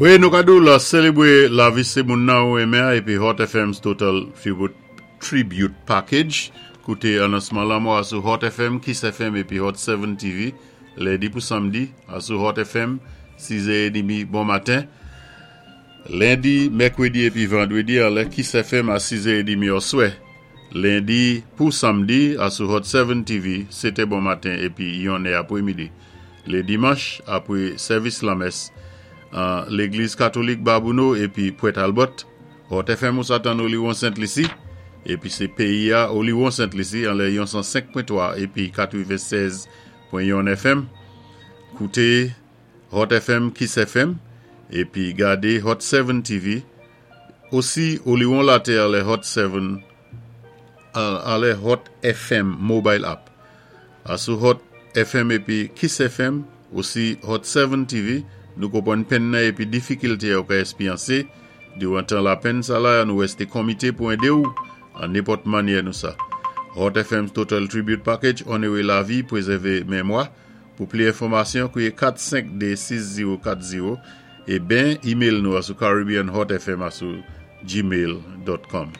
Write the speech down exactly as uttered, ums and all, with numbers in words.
Wi, nou ka di ou la sélébwé lavi sé moun nan ou enmen épi Hot F M's Total Tribute, Tribute Package. Kouté anonsman lanmò a sou Hot F M, Kiss F M épi Hot sèt T V, lendi pou samdi, a sou Hot F M, sis è edmi bon maten. Lendi, mèkwédi épi vandwédi anlè Kiss F M a sis è edmi oswè. Lendi pou samdi a sou Hot sèt T V, sétè bon maten épi yon è apwé midi. Lé dimanch, apwé sèvis lamès, an Légliz Katolik Babonneau épi Pointe Albert, Hot F M ou sa tann Oliwon Sent Lisi, épi sé péyi a Oliwon Sent Lisi anlè yon san senk pwen twa épi katwennsèz pwen yon F M. Kouté Hot F M, Kiss F M, épi gadé Hot sèt T V. Osi Oliwon Latè anlè Hot sèt anlè Hot F M mobile app. A sou Hot F M épi Kiss F M, osi Hot sèt T V, nou konpwann penn nan épi difikilté ou ka èspéryansé diwan tan lapenn sa la, nou wèsté komité pou édé ou an nenpòt mannyè nou sa. Hot F M Total Tribute Package, onoré lavi, pwézèvé mémwa. Pou pli enfòmasyon, kouwé kat senk de sis zewo kat zewo é ben email nou a sou caribbeanhotfm a sou gmail pwen com.